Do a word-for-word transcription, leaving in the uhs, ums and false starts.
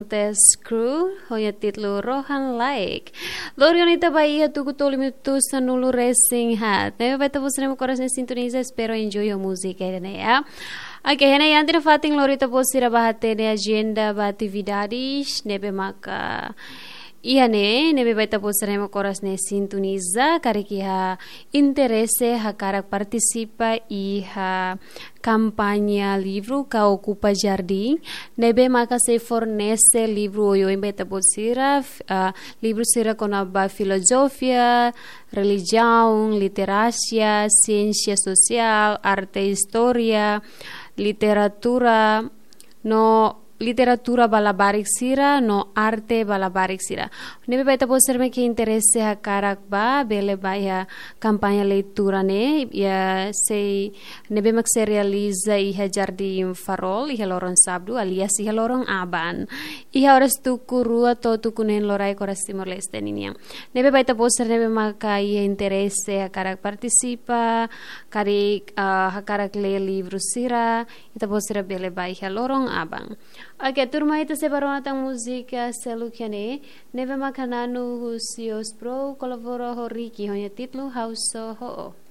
Test Crew, ho nia títulu Rohan Laek. Lori ona ita ba iha tuku tolu minutu sanulu resin haat. Ne'ebé ba ita-boot sira ne'ebé mak oras ne'e sintoniza, espera enjoy ho múzika ida-ne'e, ya. Oke, iha ne'e iha ita-nia fatin lori ita-boot sira ba hatene ajenda ba atividades ne'ebé maka iha ne'e, ne'ebé ba ita-boot sira ne'ebé mak oras ne'e sintoniza, karik iha interese hakarak partisipa iha kampaña livru ka Okupa Jardín, ne'ebé maka sei fornese livru oioin ba ita-boot sira, f-, ah, livru sira kona-ba filozofia, relijiaun, literasia, siénsia sosiál, arte, istória, literatura, no literatura ba labarik sira, no arte ba labarik sira. Ne'ebé ba ita-boot sira ne'ebé ke interese hakarak ba, bele ba iha kampaña leitura ne'e, ya sei ne'ebé mak sei realiza iha Jardín Farol, iha loron Sábadu, alias iha loron aban. Iha oras tuku rua to'o tuku neen loraik oras Timor-Leste ninian. Ne'ebé ba ita-boot sira ne'ebé maka iha interese hakarak partisipa, karik, ah, hakarak lee livru sira, ita-boot sira bele ba iha loron aban. Oke, tuirmai ita sei ba rona tan múzika seluk iha ne'e, ne'ebé maka nanu husi Osbro, kolabora ho Ricky, ho nia títulu Ha'u Só Ho'o.